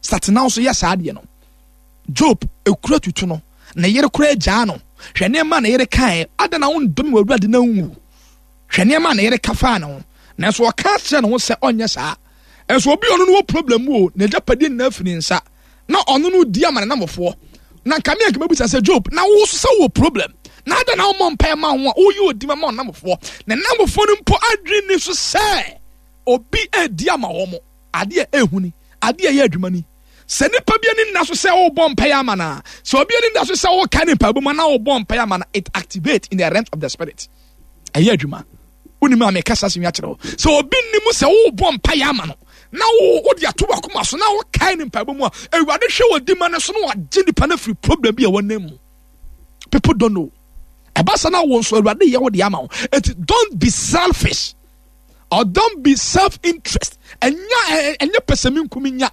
Satena nso yɛ saa adeɛ no. Job ekura tutu no, ne yere koraa gyaa no. Hwɛ nneɛma na yere kaeɛ, adɛn na wondɔ me wɔ Awurade na nwu? Hwɛ nneɛma na yere ka faa ne ho. Nanso ɔka kyerɛ ne ho sɛ ɔnyɛ saa. Nso obi ɔno no wɔ problem mu o, n'agyapadeɛ nyinaa firi ne nsa. Na ɔno no di ama ne namfoɔ. Na nka me anka mɛbisa sɛ Job, na wo nso sɛ wowɔ problem? Na adɛn na wommɔ mpaeɛ ma wo ho a woyi odi ma ma ɔnamfoɔ? Ne namfoɔ no mpo adwene ni so sɛ obi redi ama wɔn. Adeɛ a ɛhu ni, adeɛ a ɛyɛ adwuma ni. Sɛ nipa bi ani nna so sɛ wobɔ mpaeɛ ama no a, sɛ obi ani nda so sɛ woka ne mpaebɔ mu na wobɔ mpaeɛ ama no, it activate in the realms of the spirit. Ɛyɛ adwuma. Wonim a meka saa asɛm yi akyerɛ wo. Sɛ obi nnim sɛ wobɔ mpaeɛ ama no na wode ato wakoma so na wokae ne mpaebɔ mu a, Awurade hwɛ wɔ di ma no so na wagye nipa no afiri problem bi a wɔnam mu. People don't know. Ɛba sa na wo nso Awurade yɛ wo de ama wo. Eti don't be selfish or don't be self interest. Ɛnya ɛnyɛ pɛsɛmenkominya. Nya.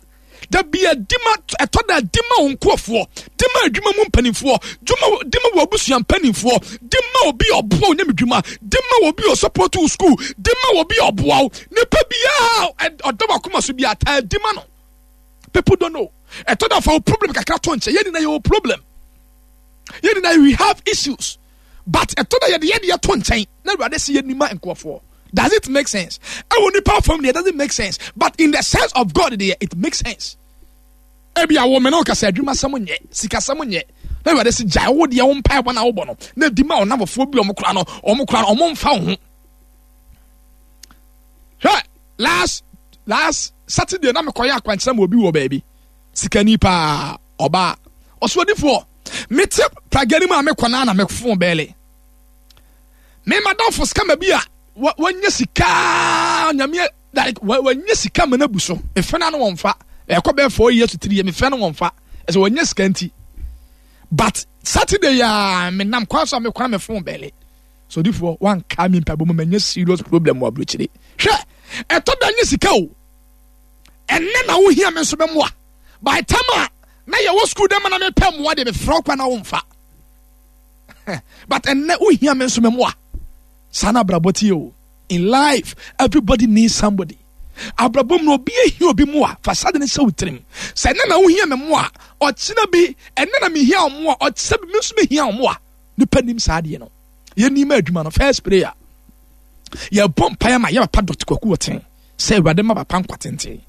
Da bi di ma ɛtɔ da di ma wo nkurɔfoɔ, di ma adwuma mu mpanimfoɔ, di ma wɔ abusua mpanimfoɔ, di ma obi a ɔboa wo nyame dwuma, di ma obi a ɔsɔpɔto wo sukuu, di ma obi a ɔboa wo. Nipa biara ɔda wakoma so biara taa di ma no. People don't know. Ɛtɔ da fa wo problem kakra to nkyɛn. Yɛn nyinaa yɛwɔ problem. Yɛn nyinaa we have issues. But ɛtɔ da yɛde yɛde yɛto nkyɛn na Awurade si yɛn nima nkurɔfoɔ. Does it make sense? Ɛwɔ nipa fam deɛ it doesn't make sense. But in the sense of God deɛ it makes sense. Ebi a wo mene wo kasa adwuma sɛm nyɛ, sikasɛm nyɛ. Na Awurade si gyae wo deɛ wo mpaebɔ na wobɔ no. Na di ma ɔnamfofoɔ bi ɔmo kora no, ɔmo kora no, ɔmo mfa wo ho. Hwɛ, last last Saturday na mekɔyɛ akwankyerɛ ma obi wɔ baabi. Sikani paa, ɔbaa. Ɔsoɔdifoɔ, mete pragya no mu a mekɔ na na mefon bɛɛle. Me madamfo scammer bi a wanya sika nyame like wanya sika ma no abu so. Mefrɛ no ano wɔmfa. Ɛkɔ bɛyɛ 4 years to 3 years mefrɛ no wɔmfa. Ɛsɛ wanya sika nti. But Saturday ya menam kwan so a mekɔ na mefon bɛɛle. So difoɔ wanka me mpaebɔ mu manya serious problem wɔ aburokyire. Hwɛ, ɛtɔ da nye sika o. Ɛnɛ na wohia me nso bɛmmoa. By time a na yɛwɔ school dɛ ma na mepɛ mmoa deɛ mefrɛ wo kwa na womfa. But ɛnɛ wohia me nso mɛmmoa. Saa na abrabɔ tie o. In life, everybody needs somebody. Abrabɔ mu no obi ehia obi mmoa. Fa saa de ne hyɛ wo tirim. Sɛ ɛnɛ na wohia me mmoa, ɔkyena bi ɛnɛ na mehia wo mmoa, ɔkyena bi me nso mehia wo mmoa. Nipa nim saa adeɛ no. Yɛnim adwuma no first prayer. Yɛbɔ mpaeɛ ma yɛ papa Dr. Kwaku Ɔten sɛ Awurade ma papa nkwa tenten.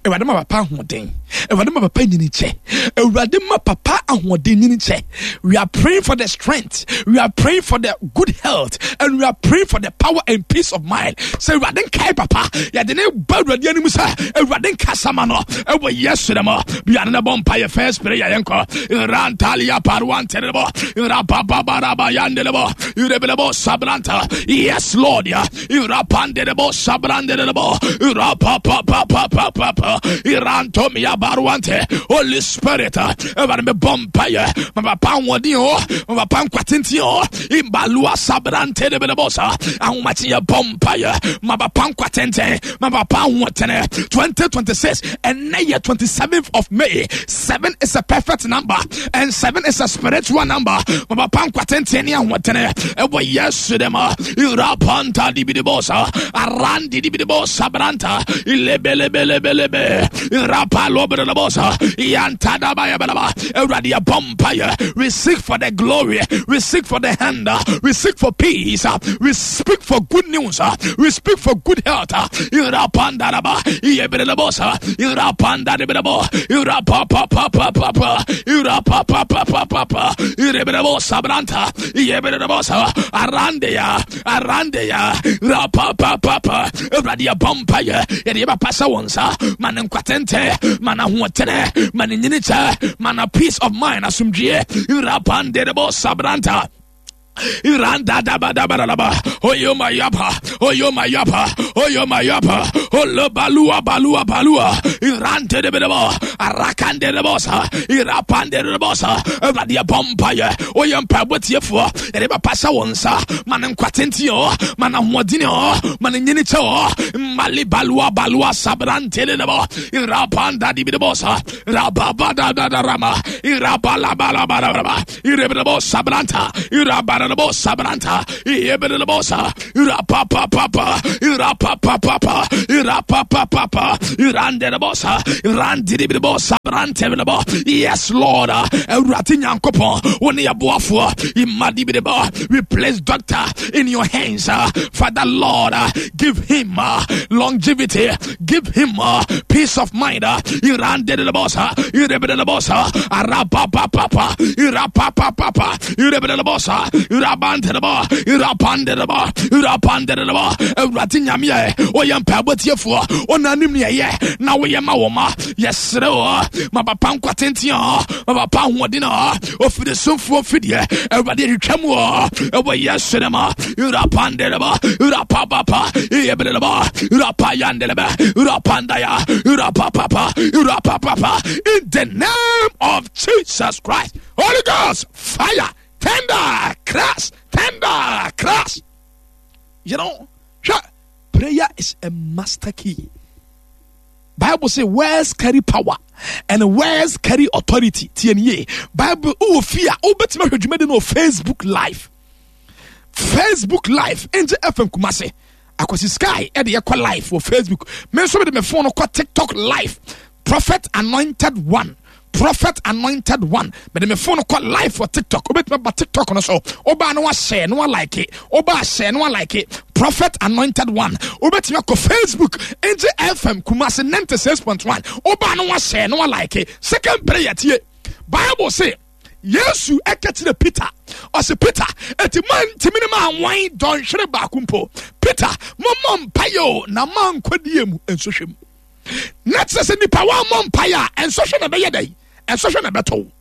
Awurade ma papa ahoɔden. Awurade ma papa nyini kyɛ. Awurade ma papa ahoɔden nyini kyɛ. We are praying for the strength. We are praying for the good health. And we are praying for the power and peace of mind. Sɛ Awurade nkae papa. Yɛde ne ba Awurade anim sɛ Awurade nkasa ma no. Ɛwɔ Yesu dɛ mo. Biara ne bɔ mpaeɛ first prayer yɛnkɔ. Rantalia paruanterebo. Rabababaraba yandelebo. Irebelebo sabranta. Yes Lord. Ya. Irapandelebo sabrandelebo. Irapapapapapapa. Irantomia baruante. Holy Spirit. Awurade me bɔ mpaeɛ. Ma papa ahoɔden o. Ma papa nkwa tenten o. Imbalua sabrante debelebo sa. Ahomakye yɛ bɔ mpaeɛ. Ma papa nkwa tenten. Ma papa ahoɔtene. 2026 ɛnɛ yɛ 27th of May. 7 is a perfect number and 7 is a spiritual number. Ma papa nkwa tenten ne ahoɔtene. Ɛwɔ Yesu dɛm. Irapanta dibidibosa. Arandi dibidibosa branta. Ilebelebelebelebe. Irapalobelebosa. Yantadabayabeleba. Awurade yɛbɔ mpaeɛ. We seek for the glory. We seek for the hand. We seek for peace. We speak for good news. We speak for good health. Irapandaraba. Iyebrelebosa. Irapandarebo. Irapapapapapa. Irapapapapapa. Irebrebosa branta. Iyebrelebosa. Arandeya. Arandeya. Rapapapapa. Awurade yɛbɔ mpaeɛ. Yɛde yɛbɛpa sɛ wo nsa. Ma ne nkwa tenten. Ma n'ahoɔtene. Ma ne nyini kyɛ. Ma na peace of mind asomdwie. Irapanderebosa branta. Iranda da ba da ba da ba. Oyo mayapa. Oyo mayapa. Oyo mayapa. Olo balua balua balua. Irante de bedebo. Arakande de bosa. Irapande de bosa. Awurade yɛbɔ mpaeɛ. Oyɛ mpaebɔ tiefoɔ. Yɛde bɛpa hyɛ wo nsa. Ma ne nkwa tenten o. Ma ne ahoɔden o. Ma ne nyini kyɛ o. Mali balua balua sabrante de debo. Irapanda di bedebosa. Rababa da da da rama. Irabala bala bala bala. Irebedebo sabranta. Irabala. Irebelebosa branta. Irebelebosa. Irapapapapa. Irapapapapa. Irapapapapa. Irandelebosa. Irandiribosa brantebelebo. Yes, Lord. Awurade Nyankopɔn, wo ne yɛboafoɔ. Imadibidebo. We place doctor in your hands. Father, Lord, give him longevity. Give him peace of mind. Irandelebosa. Irebelebosa. Arapapapapa. Irapapapapa. Irebelebosa. Irabantelebo. Irapandelebo. Irapandelebo. Awurade Nyame ɛ, woyɛ mpaebɔ tiefoɔ, wonanim ne ɛyɛ na woyɛ ma wo ma. Yɛsrɛ wo, ma papa nkwa tenten ɔ, ma papa ahoɔden ɔ, ofiri somfoɔ mfideɛ, Awurade twitwa mu ɔ, ɛwɔ Yesu ne ma. Irapandelebo. Irapapapa. Irebelebo. Irapayandelebe. Irapandaya. Irapapapa. Irapapapa. In the name of Jesus Christ. Holy Ghost, fire, tender, crash, tender, crash. You know, prayer is a master key. Bible say words carry power and words carry authority. TNA. Bible, oh, fear, oh, but Facebook Live. Facebook Live, Angel FM Kumasi. Akwasi Sky, ɛde yɛkɔ live wɔ Facebook. Me nso mede me phone kɔ TikTok live. Prophet Anointed One. Prophet Anointed One. Mede me phone kɔ live wɔ TikTok. Wobɛtumi aba TikTok no so. Wobaa no wahyɛ no walike. Wobaa hyɛ no walike. Prophet Anointed One. Wobɛtumi akɔ Facebook. Angel FM Kumasi 96.1. Wobaa no wahyɛ no walike. Second prayer tie. Bible say Yesu ɛka kyerɛ Peter, ɔse Peter, eti moantumi ne manwan dɔnhwere baako mpo. Peter, mommɔ mpaeɛ o na moankɔdie mu nsɔhwɛ mu. Na kyerɛ sɛ nipa wammɔ mpaeɛ a nsɔhwɛ na ɛbɛyɛ dɛn? Nsɔhwɛ na ɛbɛtɔ wo.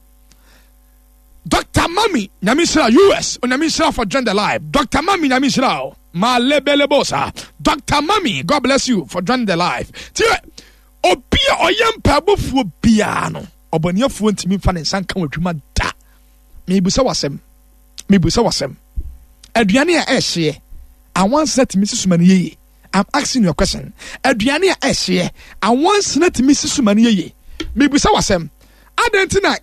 Dr. Mami Nyame nhyira US Onyame nhyira for join the live. Dr. Mami Nyame nhyira o. Malebelebosa. Dr. Mami, God bless you for joining the live. Tie, obi a ɔyɛ mpaebɔfoɔ biara no, ɔbɔneɛfoɔ ntumi mfa ne nsa nka w'adwuma da. Mebusa w'asɛm. Mebusa w'asɛm. Aduane a ɛhyeɛ, awansena tumi si soma no yie. I'm asking you a question. Aduane a ɛhyeɛ, awansena tumi si soma no yie. Mebusa w'asɛm. Adɛn nti na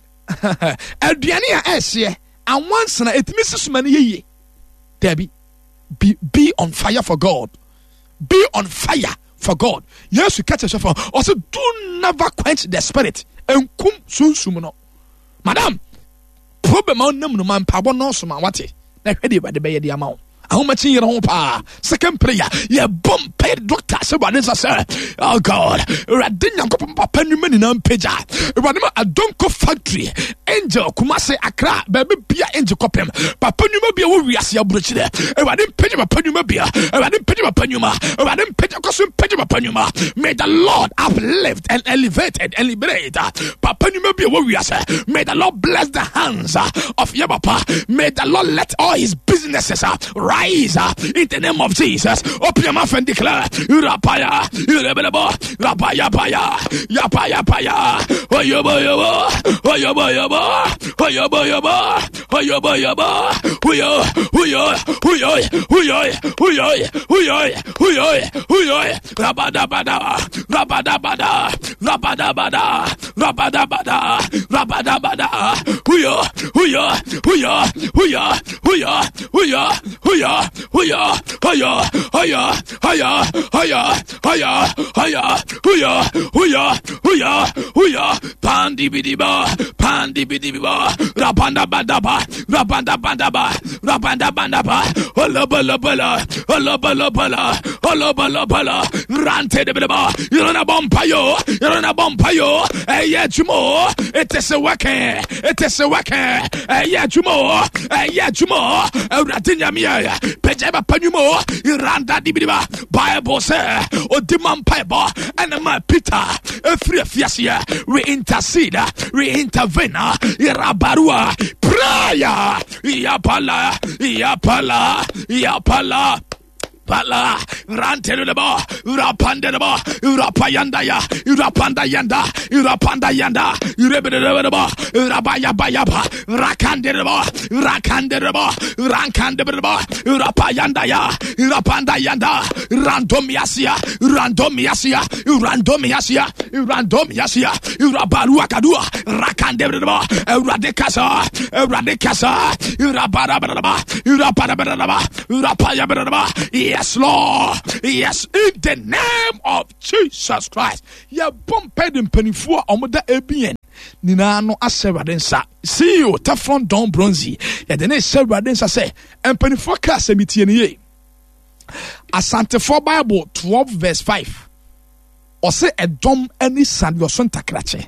aduane a ɛhyeɛ, awansena ɛtumi si soma no yie? Dabi. Be on fire for God. Be on fire for God. Yesu ka kyerɛ sɔfo, ɔsɛ do never quench the spirit. Nkum sunsum no. Madam, problem a ɔnam no ma mpaabɔ nɔɔso ma wate. Na hwɛ deɛ Awurade bɛyɛ de ama wo. Ahomakye yere ho paa. Second prayer, yɛbɔ mpae doctor sɛ Awurade nsa sɛ, oh God, Awurade Nyankopɔn papa nnwuma nyinaa mpagya. Awurade ma Adonko factory, Angel, Kumasi, Accra, baabi bia Angel kɔpem. Papa nnwuma bia wɔ wiase aburokyerɛ. Awurade mpagya papa nnwuma bia. Awurade mpagya papa nnwuma. Awurade mpagya kɔ so mpagya papa nnwuma. May the Lord uplift and elevated and liberate papa nnwuma bia wɔ wiase. May the Lord bless the hands of your papa. May the Lord let all his businesses rise in the name of Jesus. Open your mouth and declare, Rapaya, Irebelebo, Rapaya Paya, Yapaya Paya, Oyobo Yobo, Oyobo Yobo, Oyobo Yobo, Oyobo Yobo, Uyo, Uyo, Uyo, Uyo, Uyo, Uyo, Uyo, Uyo, Rabadabada, Rabadabada, Rabadabada, Rabadabada, Rabadabada, Uyo, Uyo, Uyo, Uyo, Uyo, Uyo, Uyo, Uyo, Uyo, Uyo, Uyo, Uyo, Uyo, Uyo, Uyo, Uyo, Uyo, Uyo, Pandibidiba, Pandibidiba, Rabanda Bandaba, Rabanda Bandaba, Rabanda Bandaba, Olabalabala, Olabalabala, Olabalabala, Rante de Bidaba, Irona Bompayo, Irona Bompayo, Eya Jumo, it is a working, it is a working, Eya Jumo, Eya Jumo, Awurade Nyame, Pagya Panyumo, Iranda Dibidiba, Bible sɛ ɔdi ma mpaebɔ ɛna ma Peter ɛfiri afiaseɛ. We intercede, we intervene, Irabarua, prayer, Yapala, Yapala, Yapala. Pala, Ranteleba, Rapandeleba, Rapayandaya, Rapandayanda, Rapandayanda, Rebeleba, Rabayabayaba, Rakandeleba, Rakandeleba, Rankandeleba, Rapayandaya, Rapandayanda, Randomiasia, Randomiasia, Randomiasia, Randomiasia, Rabaruakadua, Rakandeleba, Radekasa, Radekasa, Rabarabaraba, Raparabaraba, Rapayabaraba. Yes, Lord. Yes, in the name of Jesus Christ. Yɛbɔ mpae de mpanimfoɔ a wɔda ABN nyinaa no ahyɛ Awurade nsa. CEO Teflon Don Bronzy yɛde ne hyɛ Awurade nsa sɛ mpanimfoɔ kaa sɛ metie ne yie. Asantefoɔ Bible 12 verse 5. Ɔse ɛdɔm ani sa deɛ ɔso ntakrakye.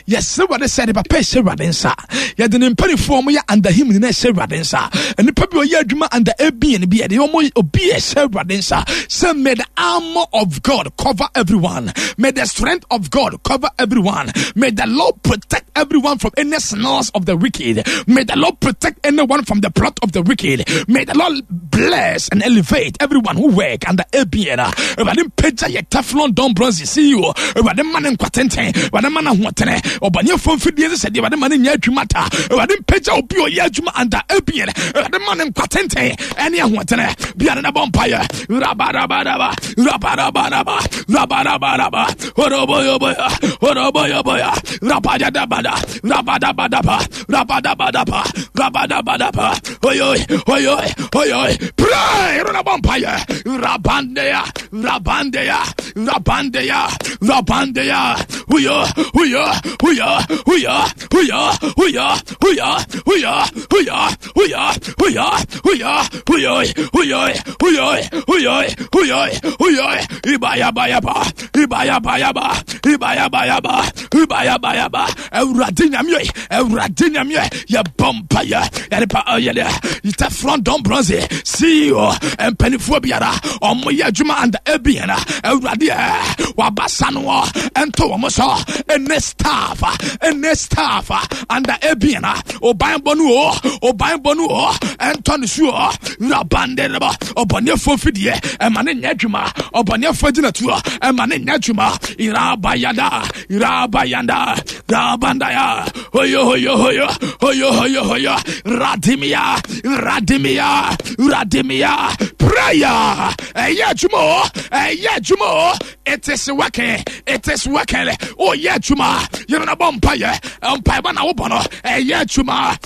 Yɛsrɛ Awurade sɛ yɛde papa ɛhyɛ Awurade nsa. Yɛde ne mpanimfoɔ a wɔyɛ under him nyinaa ɛhyɛ Awurade nsa. Nnipa bi ɔyɛ adwuma under ABN bi yɛde wɔn obi ɛhyɛ Awurade nsa. Sɛ may the armor of God cover everyone. May the strength of God cover everyone. May the Lord protect everyone from any snares of the wicked. May the Lord protect anyone from the plot of the wicked. May the Lord bless and elevate everyone who work under ABN. Awurade mpagya yɛ Teflon Don Bronze CEO. Awurade ma ne nkwa tenten. Awurade ma no ahoɔtene. Ɔbɔneɛfoɔ mfidie sɛ sɛdeɛ Awurade ma no nyɛ adwuma ta. Awurade mpagya obi a ɔyɛ adwuma under ABN. Awurade ma ne nkwa tenten ɛne ahoɔtene. Biara na bɔ mpaeɛ. Rabarabaraba. Rabarabaraba. Rabarabaraba. Oroboyoboya. Oroboyoboya. Rabadabada. Rabadabadaba. Rabadabadaba. Rabadabadaba. Oyoy. Oyoy. Oyoy. Pray. Rabba mpaeɛ. Rabandea. Rabandeya, Rabandeya, Rabandeya, Huya, Huya, Huya, Huya, Huya, Huya, Huya, Huya, Huya, Huya, Huya, Huya, Huya, Huya, Huya, Huya, Huya, Huya, Ibaya Bayaba, Ibaya Bayaba, Ibaya Bayaba, Ibaya Bayaba, Awurade Nyame, Awurade Nyame, yɛbɔ mpaeɛ, yɛde pa yɛde Teflon Don Bronze, CEO, mpanimfoɔ biara, ɔmo yɛ adwuma under ABN, Awurade ɛ, wabasa no ɛnto wɔn so, ɛne staff, ɛne staff under ABN, ɔban bɔ no o, ɔban bɔ no o, ɛntɔ ne so o, rabande reba, ɔbɔneɛfoɔ fidie, ɛma ne nyɛ adwuma, ɔbɔneɛfoɔ gyinatuo, ɛma ne nyɛ adwuma, irabayada, irabayanda, rabandaya, hoyo hoyo hoyo hoyo hoyo hoyo radimia radimia radimia prayer ɛyɛ adwuma o ɛyɛ adwuma o it is working it is working oyɛ adwuma yɛn na bɔ mpaeɛ mpaebɔ na wobɔ no ɛyɛ adwuma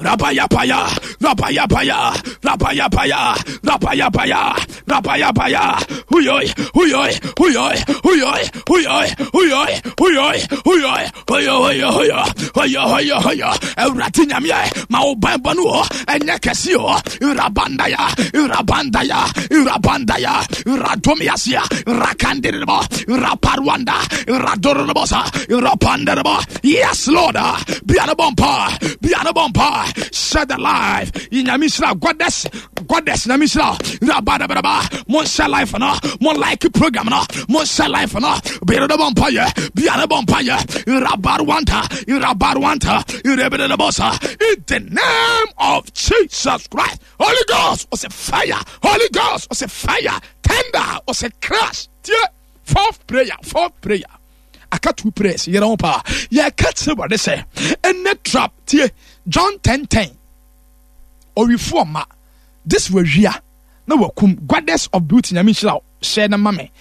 Rabayapaya, Rabayapaya, Rabayapaya, Rabayapaya, Rabayapaya, Huyoi, Huyoi, Huyoi, Huyoi, Huyoi, Huyoi, Huyoi, Huyoi, Hoyo, Hoyo, Hoyo, Hoyo, Hoyo, Hoyo, Awurade Nyame, ma wo banbɔ no o, ɛnyɛ kɛse o, Rabandaya, Rabandaya, Rabandaya, Radomiasia, Rakandirbo, Raparwanda, Radorobosa, Rapanderbo, Yes, Lord. Be on a bumper. Be on a bumper. Share the life. Nyame nhyira goddess goddess nyame nhyira rabadabraba mo share life no mo like program no mo share life no be on a bumper ye be on a bumper ye rabarwanta rabarwanta rebedebosa in the name of Jesus Christ. Holy Ghost was a fire. Holy Ghost was a fire. Tender was a crash. Fourth prayer. Fourth prayer. Aka two prayers yɛrɛ ho paa yɛka kyerɛ Awurade sɛ ɛnɛ trap tie John 10:10 ɔwifoɔ ma this wawia na wakum goddess of beauty nyame nhyira hyɛ no ma me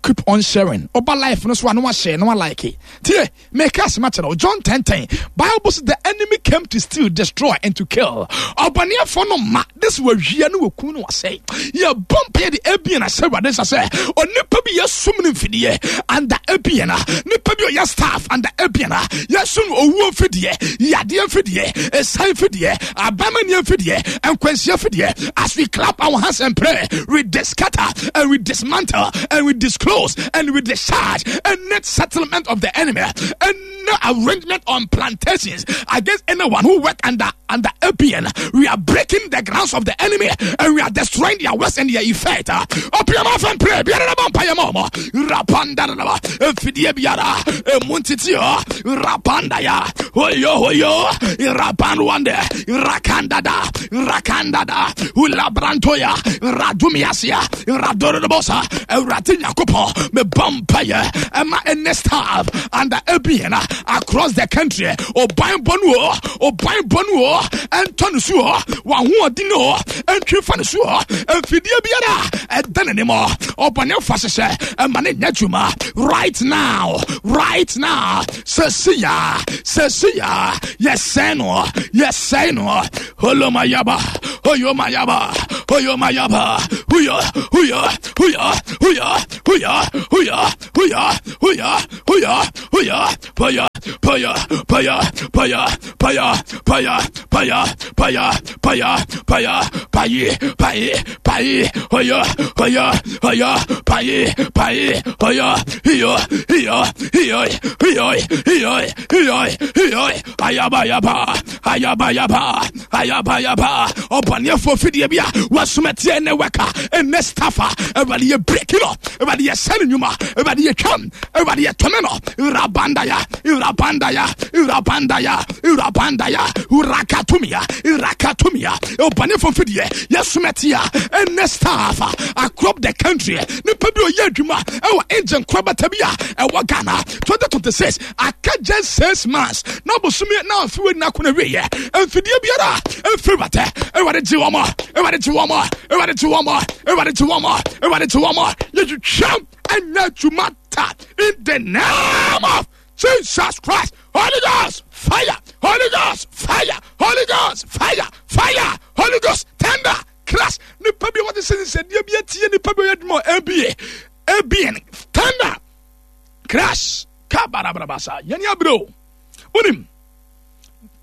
keep on sharing ɔba life no so a na wahyɛ na walike tie meka asɛm akyerɛ wo John 10:10 Bible says the enemy came to steal, destroy and to kill ɔbɔneɛfoɔ no ma this wawia ne wakum ne wasɛe yɛbɔ mpaeɛ de abien ahyɛ awurade nsa sɛ onipa bi yɛsum no mfidie anda abien a nipa bi ɔyɛ staff anda abien a yɛsum no owuo mfidie yadeɛ mfidie ɛsan mfidie abamaniɛ mfidie nkwanhyia mfidie as we clap our hands and pray we discatter and we dismantle and we disclose and we discharge and net settlement of the enemy and. Any arrangement on plantations against anyone who work under under APN, we are breaking the grounds of the enemy and we are destroying their works and their effect. Open your mouth and pray. Biara na mpaeɛ ma ɔmo. Rapanda na mfidie biara emu ntete hɔ. Rapanda ya hoyo hoyo rapanwande rakandada rakandada ulabrantoya radumiasia radorobosa Awurade Nyankopɔn mebɔ mpaeɛ ɛma ɛnɛ staff under ABN across the country ɔban bɔ no o ɔban bɔ no o ɛntɔ no so o wahoɔden o ɛntwe fa no so o mfidie biara ɛda n'anim ɔbɔne fa hyehyɛ ɛma ne nyɛ adwuma right now, right now. Sɛsiya, sɛsiya, yɛsɛe no, yɛsɛe no. Holomayaba, hoyomayaba, hoyomayaba, huya, huya, huya, huya, huya, huya, huya, huya, huya, huya, paya, paya, paya, paya, paya, paya, paya, paya, paya, paya, payi, payi, payi, hoya, hoya, hoya, payi, payi, hoya, hiyo, hiyo, hiyo, hiyo, hiyo, hiyo, hiyo, ayabayaba, ayabayaba, ayabayaba. Ɔbɔneɛfoɔ fidie bi a wɔasoma ne wɛka ɛnɛ staffa, Awurade yɛ breki no, Awurade yɛ sɛ ne nnwuma, Awurade yɛ twam, Awurade yɛ tɔme no. Rabandaya, rabandaya, rabandaya, rabandaya, rakatumia, rakatumia. Ɔbɔnefoɔ fidie yɛsoma tie ɛnɛ staff across the country, nipa bi ɔyɛ adwuma ɛwɔ engine korabata bi a ɛwɔ Ghana 2026 aka just 6 months na bosomi na afiwe na akɔnɔ wieɛ. Mfidie biara mfiri watɛ, Awurade gye wɔn, Awurade gye wɔn, Awurade gye wɔn, Awurade gye wɔn, Awurade gye wɔn. Yɛtwitwam ɛnyɛ adwuma ta in the name of Jesus Christ. Holy Ghost fire, Holy Ghost fire, Holy Ghost fire, fire, Holy Ghost thunder crash. Nipa bi a wɔde sɛ nsɛdeɛ bi atie nipa bi a ɔyɛ adwuma wɔ aba abn, thunder crash kabarabarabasa. Yɛne abere o, wonim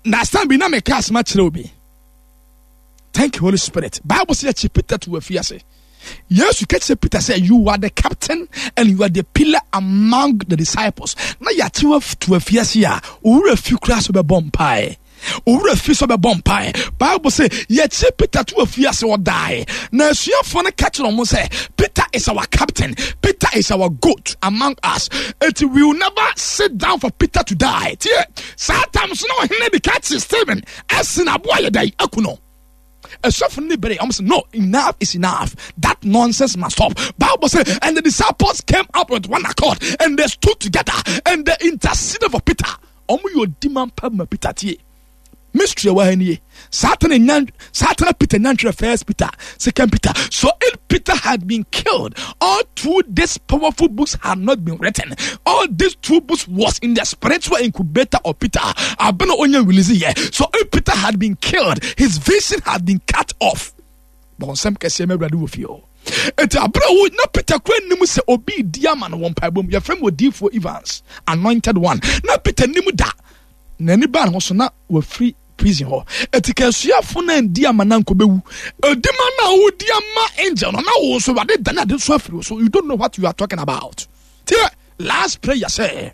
na asan bi na meka asɛm akyerɛ obi. Thank you, Holy Spirit. Bible sɛ yɛkyi Peter to afiase. Yesu ka kyerɛ Peter sɛ, "You are the captain and you are the pillar among the disciples." Na yɛakye wa to afiase a, owura fi koraa so bɛbɔ mpaeɛ, owura fi so bɛbɔ mpaeɛ. Bible sɛ yɛkyi Peter to afiase, ɔdae na asuafoɔ no ka kyerɛ ɔmo sɛ, "Peter is our captain, Peter is our goat among us, it we will never sit down for Peter to die." Tie, saa tam so na ɔhene de ka kye Stephen ɛsen aboa yɛ dɛn aku no. Asɔfo no bere ɔmo sɛ, "No, enough is enough, that nonsense must stop." Bible say, and the disciples came up with one accord and they stood together and they interceded for Peter. Ɔmo yɛ odi man pa ma Peter. Tie, mystery ɛwɔ ha nie. Saa tena nya, saa tena Peter nya ntwerɛ First Peter, Second Peter. So if Peter had been killed, all through these powerful books had not been written. All these two books was in the spiritual incubator of Peter abena onye release yɛ. So if Peter had been killed, his vision had been cut off. Bɔnsɛm kɛseɛ mɛ Awurade wɔ fie hɔ. Eti abere wo na Peter kura nim sɛ obi di ama no wɔ mpaebɔ mu, yɛfrɛ mu odiifoɔ Evans, anointed one. Na Peter nim da n'ani baa ne ho so na wafiri prison hɔ. Eti ka asuafo na ndi ama na nkɔ bɛwu odima na wodi ama angel no na wo nso Awurade dane ade nso afiri wo so. You don't know what you are talking about. Tie, last prayer sɛ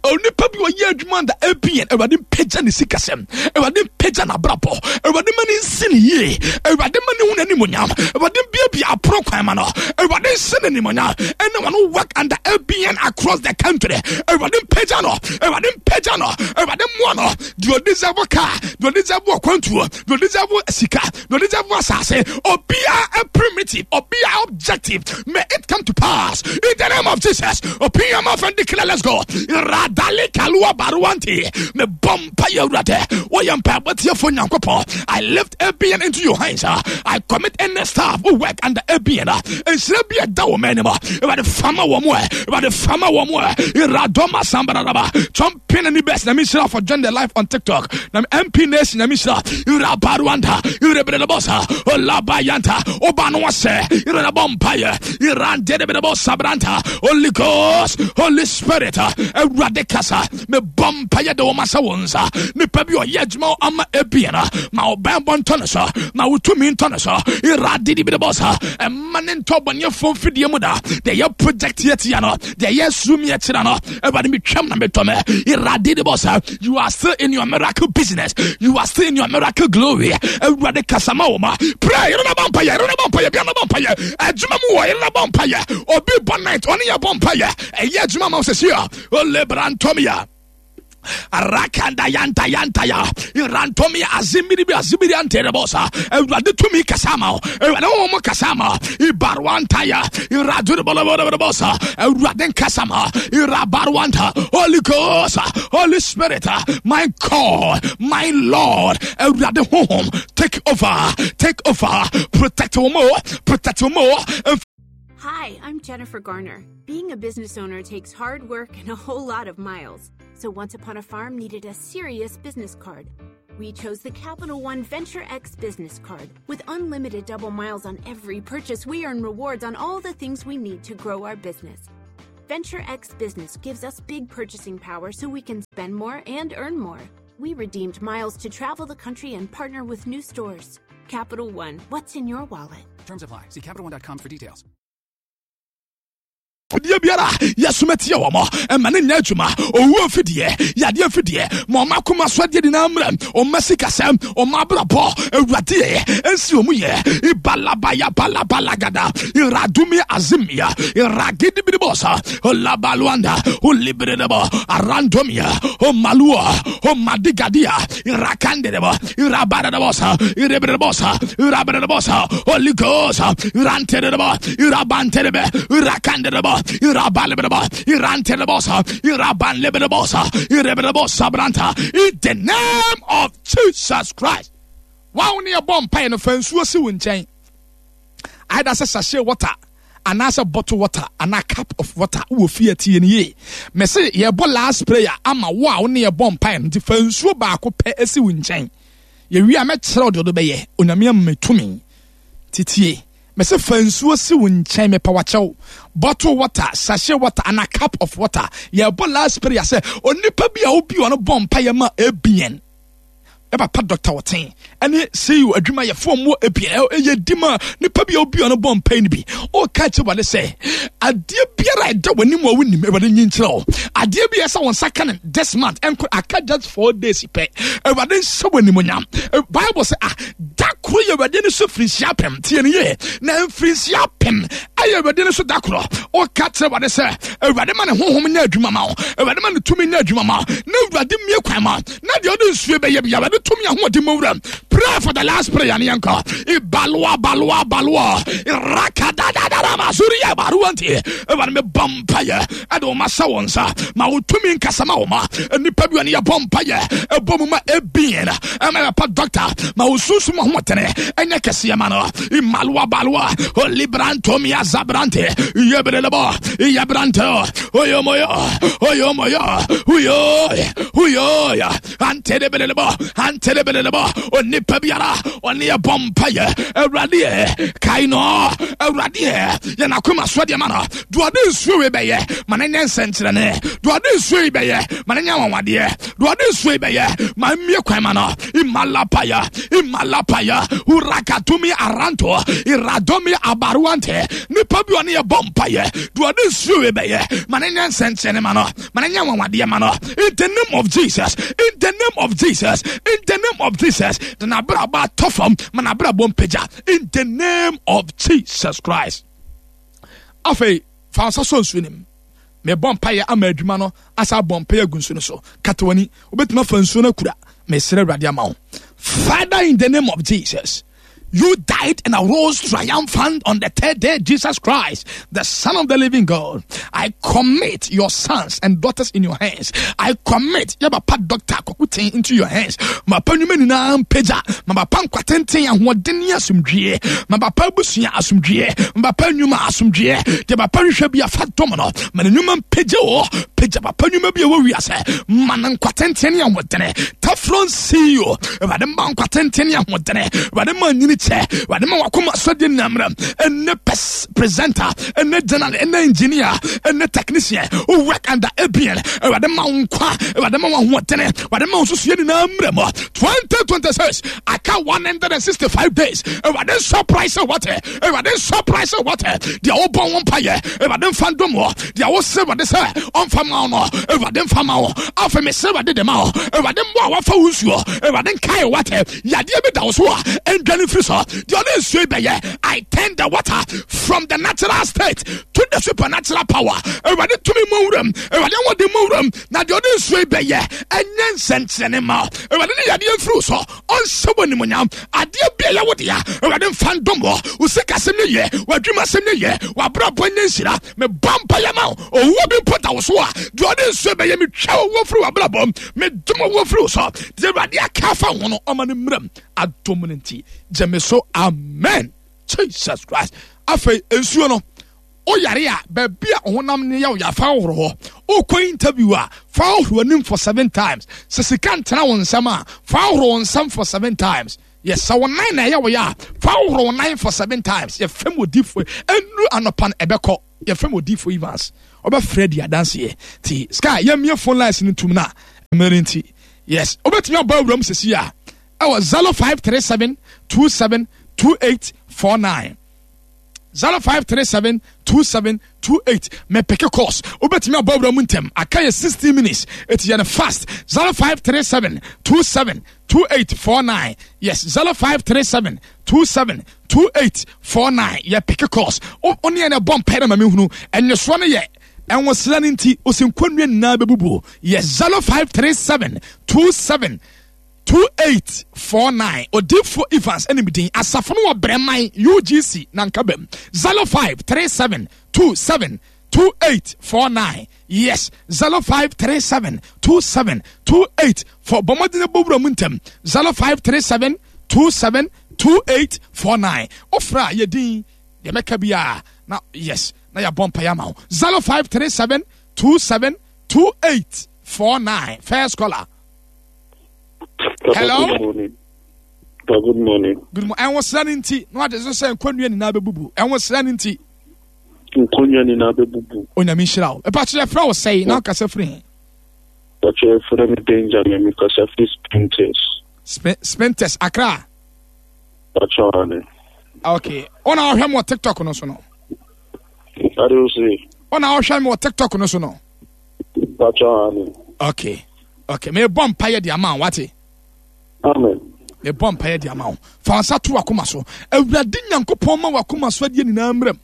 onipa bi ɔyɛ adwuma da ABN, Awurade mpagya ne sikasɛm, Awurade mpagya n'abrabɔ, Awurade ma ne nsi ne yie, Awurade ma ne hu n'animonyam, Awurade biabia apono kwan ma no, Awurade nhyɛ n'animonyam. Anyone who work under ABN across the country, Awurade mpagya no, Awurade mpagya no, Awurade mmoa no. Deɛ ɔdeserve car, deɛ ɔdeserve akwantuo, deɛ ɔdeserve sika, deɛ ɔdeserve asase, obiara primitive, obiara objective, may it come to pass in the name of Jesus. Open your mouth and declare. Let's go. Radali kalua baruanti me bompa yewurade woyɛ mpaebɔ tiefo Nyankopɔn. I lift ABN into your hands. I commit any staff who work under ABN. Nhyira bi ɛda wɔ m'anim, Awurade fama wɔ mu ɛ, Awurade fama wɔ mu ɛ. Iradoma sambararaba champion ani best na mehyira for join the life on TikTok na MP Nation na mehyira irabaruanda irebrelebosa olabayanta oba no wasɛ irenabɔ mpayɛ irandedebedebo sabranta. Holy Ghost, Holy Spirit, Awurade kasa. Mebɔ mpayɛ de wɔn ahyɛ wɔn nsa. Nipa bi ɔyɛ adwuma ama ebien ma wo bɛnbɔ ntɔ ne so, ma wo tumi ntɔ ne so. Iradidibidibɔsa, ɛma ne ntɔ bɔneɛfoɔ mfidie mu da. Deɛ yɛ project yɛ tia no, deɛ yɛ sum yɛ kyerɛ no, Awurade metwam na metɔ me. Iradidibɔsa, you are still in your miracle business, you are still in your miracle glory. Awurade kasa ma wo ma. Pray, yɛrɛ na bɔ mpaeɛ, yɛrɛ na bɔ mpaeɛ, bia na bɔ mpaeɛ. Adwuma mu wɔ yɛrɛ na bɔ mpaeɛ. Obi bɔ night, ɔne yɛ bɔ mpaeɛ. Ɛyɛ adwuma ma wo sɛsi a. Olebrantomia. Rakanda yanta yanta ya irantomi azimiri bi azimiri anterebosa Awurade tumi kasa ma wo, Awurade honhom kasa ma wo, ibarwanta ya iradurubolobosa Awurade nkasa ma irabarwanta. Holy Ghost, Holy Spirit, my God, my Lord, Awurade honhom, take over, take over, protect wo mo, protect wo mo. Hi, I'm Jennifer Garner. Being a business owner takes hard work and a whole lot of miles. So Once Upon a Farm needed a serious business card. We chose the Capital One Venture X business card. With unlimited double miles on every purchase, we earn rewards on all the things we need to grow our business. Venture X Business gives us big purchasing power so we can spend more and earn more. We redeemed miles to travel the country and partner with new stores. Capital One, what's in your wallet? Terms apply. See CapitalOne.com for details. Fidie biara yɛsoma tia wɔn ɛma ne nyɛ adwuma. Owuo mfidie, yadeɛ mfidie, ma ɔma akoma so adeɛ nyinaa mmerɛ, ɔma sikasɛm, ɔma abrabɔ, awuradeɛ ɛnsi wɔn yɛ. Ibalabaya balabalagada iradumi azimia iragidibidibɔsa olabaluanda olibidibɔ arandomia omalua omadigadia irakandidibɔ irabadadabɔsa iribidibɔsa irabidibɔsa. Holy Ghost, irantidibɔ irabantelebe irakandidibɔ irabalibidibɔ irantidibɔsa irabanlibidibɔsa iribidibɔsa branta, in the name of Jesus Christ. Wɔn ne yɛbɔ mpaeɛ no, fa nsuo si wo nkyɛn, either sɛ sachet water anaasɛ bottle water anaa cup of water wɔ fie. Tie no yie, mɛsɛ yɛbɔ last prayer ama wo a wo ne yɛbɔ mpaeɛ no, nti fa nsuo baako pɛ asi wo nkyɛn. Yɛwie a mɛkyerɛ wo deɛ ɔde bɛyɛ. Onyame ama me tumi titie. Mɛsɛ fa nsuo si wo nkyɛn, mepɛ wakyɛw, bottle water, sachet water anaa cup of water. Yɛbɔ last prayer sɛ onipa bi a wobi ɔno bɔ mpaeɛ ma ebien ɛpapa Dr. Ɔten ɛne CEO adwumayɛfoɔ mu ebien ɛyɛ di ma nipa bi a obi ɔno bɔ mpae no bi. Ɔka kyerɛ Awurade sɛ adeɛ biara a ɛda w'anim a wonim, Awurade nyi nkyerɛ wo. Adeɛ bi a ɛsɛ wɔn nsa ka no this month ɛnko aka just 4 days pɛ, Awurade nhyɛ wɔ animonyam. Bible sɛ ah, da koro yɛ Awurade no so mfirinhyia 1000. Tie no yie, na mfirinhyia 1000 ɛyɛ Awurade no so da koro. Ɔka kyerɛ Awurade sɛ Awurade ma ne honhom nyɛ adwuma ma wo, Awurade ma ne tumi nyɛ adwuma ma wo, na Awurade mmie kwan ma na deɛ ɔde nsuo bɛyɛ bi, Awurade tumi ahoɔden mu wura. Pray for the last prayer ne yɛnkɔ. Ibaloa baloa baloa rakadadadara masuri yɛ baruwa. Nti Awurade, mebɔ mpayɛ ɛde wo ma hyɛ wo nsa, ma wo tumi nkasa ma wo ma nnipa bi ɔne yɛbɔ mpayɛ ɛbɔ mu ma ebien ɛma yɛpa doctor, ma wo sunsum ahoɔdene ɛnyɛ kɛseɛ ma no. Imaloa baloa olibrantomia zabrante yebelelebɔ yebrante oyomoyo oyomoyo huyo huyo antelebelelebɔ antelebelelebɔ. Onipa biara ɔne yɛbɔ mpayɛ, Awurade yɛ kae no, Awurade yɛ yɛn akoma so deɛ ma no. Deɛ ɔde nsuo wei bɛyɛ, ma no nyɛ nsɛnkyerɛnne. Deɛ ɔde nsuo yi bɛyɛ, ma no nyɛ anwanwadeɛ. Deɛ ɔde nsuo yi bɛyɛ, ma mmie kwan ma no. Imalapaya imalapaya urakatumi aranto iradomi abaruante. Nipa bi ɔne yɛbɔ mpayɛ, deɛ ɔde nsuo wei bɛyɛ, ma no nyɛ nsɛnkyerɛnne ma no, ma no nyɛ anwanwadeɛ ma no. In the name of Jesus, in the name of Jesus, in the name of Jesus. De n'abrabɔ atɔ fam, ma n'abrabɔ mpagya, in the name of Jesus Christ. Afei fa nsa sɔ nsuo no mu. Mebɔ mpaeɛ ama adwuma no asa abɔ mpaeɛ agu nsuo no so. Kata w'ani, wobɛtumi afa nsuo no akura. Mesrɛ Awurade ama wo. Father, in the name of Jesus, you died and arose triumphant on the third day, Jesus Christ, the Son of the living God. I commit your sons and daughters in your hands. I commit yɛ papa Doctor Kwaku into your hands. Ma papa nnwuma nyinaa mpagya. Ma papa nkwatenten, ahoɔden ne asomdwie. Ma papa abusua asomdwie. Ma papa nnwuma asomdwie. Deɛ papa hwehwɛ bi afa dɔm no. Ma ne nnwuma mpagya o. Pagya papa nnwuma bi a ɛwɔ wiase. Ma no nkwatenten ne ahoɔdene. Saffron CEO, Awurade ma nkwa tenten ne ahoɔdene, Awurade ma nyini kyɛ, Awurade ma wakoma sɔdeɛ nyinammerɛ, ɛne presenter, ɛne journal, ɛne engineer, ɛne technician who work under ABN, Awurade ma wo nkwa, Awurade ma wo ahoɔdene, Awurade ma wo nsusuiɛ nyinaa mmerɛ mu. 2026, aka 165 days, Awurade surprise wate, Awurade surprise wate, deɛ wobɔ wo mpayɛ, Awurade mfa ndom wɔ, deɛ wosɛ Awurade sɛ ɔmfa ma wo no, Awurade mfa ma wo. Afei mesɛ Awurade de ma wo, Awurade mmoa a wafa wo nsuo, Awurade nkae wate, yadeɛ bi da wo so a ɛndwane mfiri so, deɛ ɔne nsuo yi bɛyɛ. I turn the water from the natural state to the supernatural power. Awurade tumi mu wuram, Awurade ahoɔden mu wuram, na deɛ ɔde nsuo yi bɛyɛ ɛnyɛ nsɛnkyerɛnne ma. Awurade ne yadeɛ mfiri so, ɔnhyɛ wɔ animuonyam. Adeɛ bi a ɛyɛ wo dea, Awurade mfa ndom wɔ. Wo sikasɛm nyɛ yie, w'adwumasɛm nyɛ yie, w'abrabɔ nyɛ nhyira. Mebɔ mpaeɛ ma wo, owuo bi mpo da wo so a, deɛ ɔde nsuo bɛyɛ, metwa owuo firi w'abrabɔ mu, medom owuo firi wo so. Deɛ Awurade aka afa ho no, ɔma no mmerɛm. Adom no nti, gye me so, amen. Jesus Christ. Afei nsuo no, woyare a, baabi a honam no yɛ wo ya, fa hohoro hɔ. Wokɔ interview a, fa hohoro anim for 7 times. Sɛ sika ntena wo nsam a, fa hohoro wo nsam for 7 times. Yes, sɛ wo nan na ɛyɛ wo ya a, fa hohoro wo nan for 7 times. Yɛfrɛ mu odifo, ɛnuru anɔpa no ɛbɛkɔ. Yɛfrɛ mu odifo Evans. Ɔbɛfrɛ di adanseɛ. Ti sky, yɛmmie phone lines no ntum na mmerɛ no nti. Yes, wobɛtumi abɔ awuram sɛsi a ɛwɔ 0537 27 2849. 0537 27 28. Mepeke course. Wobɛtumi abɔ awura mu ntɛm. Aka yɛ 16 minutes. Ɛti yɛ no fast. 0537 27 2849. Yes, 0537 27 2849. Yɛ peke course. Wo ne yɛn ɛbɔ mpae na ma mehunu. Ɛnyesoɔ no yɛ ɛnwosra no nti ɔsi nkɔnnua nyinaa bɛbubuo. Yɛ 0537 27 2849. Odifo Evans ɛne me din. Asafo no wɔ Brɛman UGC Nankabam. 0537 27 2849. Yes, 0537 27 28 for bɔ mmɔden bɔ wura mu ntɛm. 0537 27 2849. Ofra yɛ din deɛ mɛka biara na yes na yɛabɔ mpaeɛ ama wo. 0537 27 2849. First caller. Hello. Good morning. Good morning. Good morning. Ɛnwo sra no nti na wade so sɛ nkɔnnua nyinaa bɛbubu. Ɛnwo sra no nti. Nkɔnnua nyinaa bɛbubu. Onyame nhyira wo. Ɛpa kyerɛ frɛ wo sɛe na wokasa firi he? Pakyɛ frɛ me Benjamin, mekasa firi Spintex. Spintex, Accra. Pakyɛ ane. Okay. Wona wohwɛ me wɔ TikTok no so no? Ade wo se? Wona wohwɛ me wɔ TikTok no so no? Pakyɛ ane. Okay. Okay. Mebɔ mpaeɛ de ama wo, wate? Amen. Mebɔ mpaeɛ de ama wo. Fa wo nsa to w'akoma so. Awurade Nyankopɔn ma w'akoma so adeɛ nyinaa mmerɛ mu.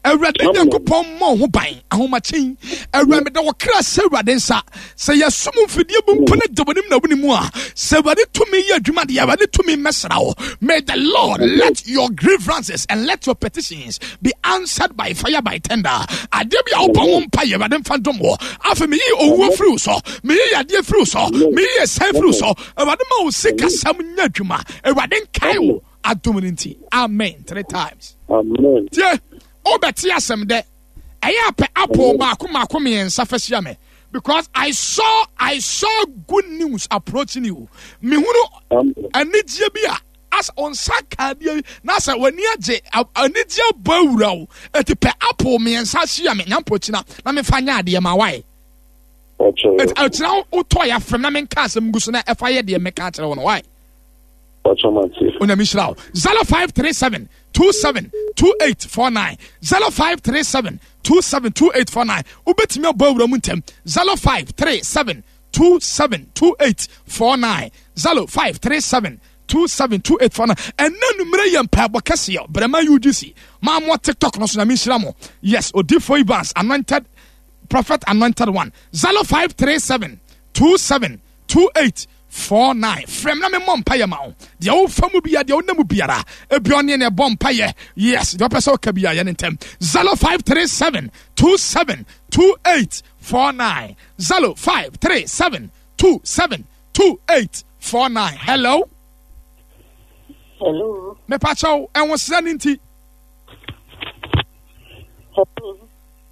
Awurade Nyankopɔn mmɔ wo ho ban ahomakyen. Awurade meda wo kra sɛ Awurade nsa. Sɛ yɛsom mfidie bu mpo ne da w'anim na wone mu a, sɛ Awurade tumi yɛ adwuma deɛ, Awurade tumi mmɛsra wo. May the Lord let your grievances and let your petitions be answered by fire by tender. Adeɛ bi a wobɔ ho mpa yɛ Awurade mfa ndom wɔ. Afei meyi owuo firi wo so, meyi yadeɛ firi wo so, meyi ɛsan firi wo so. Awurade ma wo sikasɛm nyɛ adwuma. Awurade nkae wo adom no nti. Amen. 3 times. Amen. Tie, wobɛte asɛm dɛ. Ɛyɛ apɛ apple baako mako mmiɛnsa fa hyia me. Because I saw good news approaching you. Mehunu anigyeɛ bi a as onsa ka adeɛ na sɛ w'ani agye anigyeɛ bɔ awura wo. Eti pɛ apple mmiɛnsa hyia me nyampo kyina na mefa nyɛ adeɛ ma wae. Eti akyina wotɔ ya fam na menka asɛm gu so na ɛfa yɛ deɛ meka akyerɛ wo no wae. Onyame nhyira wo. 0537 27 2849 0537 27 2849. Wobɛtumi abɔ awura mu ntɛm. 0537 27 2849 0537 27 2849. Ɛnna numere yɛ mpaebɔ kɛseɛ. Brɛma UGC. Maa mo TikTok no so Nyame nhyira mo. Yes, Odifo Evans, anointed prophet, anointed one. 0537 27 2849. Frɛ me na memmɔ mpaeɛ ma wo. Deɛ wofa mu bia, deɛ wonam mu biara, ebi ɔne ne ɛbɔ mpaeɛ. Yes, deɛ wopɛ sɛ woka bia yɛ ne ntɛm. 0537 27 2849 0537 27 2849. Hello. Hello. Mepakyɛw, ɛnwosra no nti. Hello.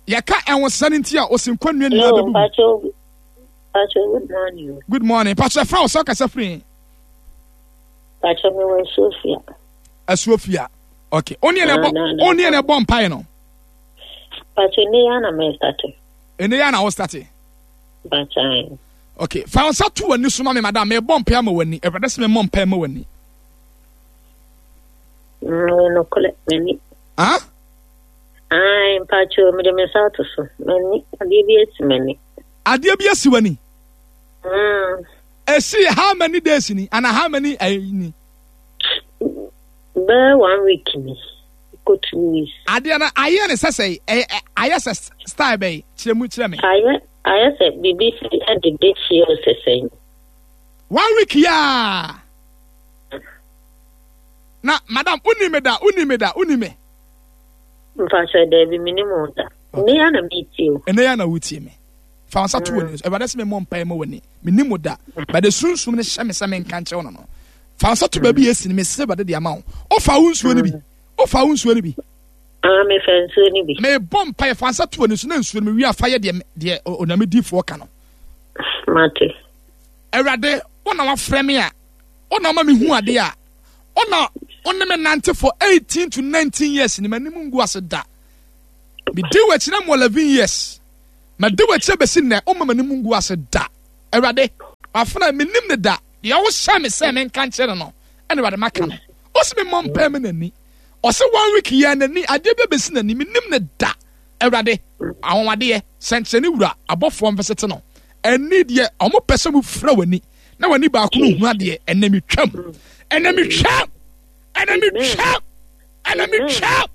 Yɛka ɛnwosra no nti a, ɔsi nkɔnnua nyinaa Hello, bɛbubu. mpakyɛw. Pacho, good morning. Good morning. Pacho, ɛfrɛ wo sɛ ɔkasa firi? Pacho, me wɔ Asuofia. Asuofia. Okay. Oni na ɛbɔ oni na ɛbɔ mpae no. Pacho, ne ya na me start. Ene ya na wo start. Pacho. Okay. Fa wo nsa to w'ani so ma me madam. Me bɔ mpae ama w'ani. Awurade sɛ me mmɔ mpae ma w'ani. Mm, no kole m'ani. Ah? Ai, mpacho, me de me nsa ato so. M'ani, adeɛ bi asi m'ani. Adeɛ bi asi w'ani. Mm. Esi how many days ni? Ana how many eh, ni? Bɛɛ one week ni. Kɔ 2 weeks. Adeɛ no ayɛ ne sɛ sɛ ayɛ sɛ style bɛyi kyerɛ mu kyerɛ me. Ayɛ ayɛ sɛ biribi si ɛde de hyia o sɛ sɛn. One week yaa. Na madam wonni me da wonni me da wonni me. Mpakyɛ daabi menim wo da. Ɛnɛ ya na metie o. Ɛnɛ ya na wotie me. Fa wo nsa to w'ani so. Awurade sɛ memmɔ mpaeɛ ma w'ani. Menim wo da. But sunsum no hyɛ me sɛ menka nkyerɛ wo no no. Fa wo nsa to baabi a esi no mesrɛ Awurade de ama wo. Wofa wo nsuo no bi. Wofa wo nsuo no bi. Ah, mefa nsuo no bi. Mebɔ mpaeɛ fa nsa to w'ani so na nsuo no mewie a fa yɛ deɛ deɛ Onyame diifoɔ ka no. Mate. Awurade, wo na wafrɛ me a, wo na woma mehu adeɛ a, wo na wo ne me nante for 18 to 19 years ni m'anim ngu ase da. Medi w'akyi na mo 11 years. Madi w'akyi abɛsi nnɛ, woma m'anim ngu ase da. Awurade, wafena menim ne da. Deɛ wohyɛ me sɛ menka nkyerɛ no no, ɛna Awurade maka no. Ɔsi me mmɔ mpae me n'ani. Ɔsɛ one week yɛ n'ani, adeɛ bi abɛsi n'ani, menim ne da. Awurade, anwanwadeɛ, sɛnkyerɛnne wura, abɔfoɔ mfɛsɛte no. Ɛni deɛ, ɔmo pɛ sɛ mo fira w'ani, na w'ani baako no hu adeɛ, ɛnɛ metwam. Ɛnɛ metwam. Ɛnɛ metwam. Ɛnɛ metwam.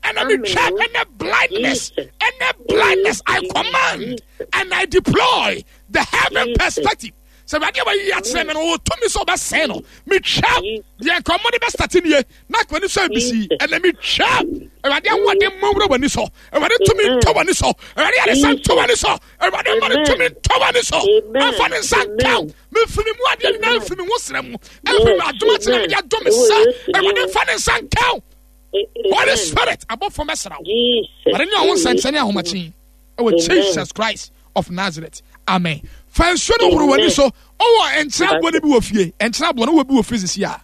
Ɛnɛ metwam. Ɛnɛ blindness. Ɛnɛ blindness. I command and I deploy the heaven perspective. Sɛ awurade a wayi akyerɛ me no ɔwɔ tumi sɛ ɔbɛsɛe no. Metwam. Deɛ nka ɔmo de bɛstate nie na akɔ ani so abisi. Ɛnɛ metwam. Awurade ahoɔden mmɔ nwura w'ani so. Awurade tumi ntɔ w'ani so. Awurade ayaresa ntɔ w'ani so. Awurade mma ne tumi ntɔ w'ani so. Ɛmfa ne nsa nka wo. Mefiri mu adeɛ nyinaa mfiri me ho serɛ mu. Ɛmfiri me adom akyerɛ mede adom me sɛ. Awurade mfa ne nsa nka wo. Holy Spirit abɔfoɔ mɛsra wo. Awurade ne ɔho nsɛnkyerɛnne ahomakye ɛwɔ Jesus Christ of Nazareth. Amen. Fa nsuo no horo w'ani so. Ɔwɔ nkyerɛ aboɔ no bi wɔ fie. Nkyerɛ aboɔ no wɔ bi wɔ fie sisi a.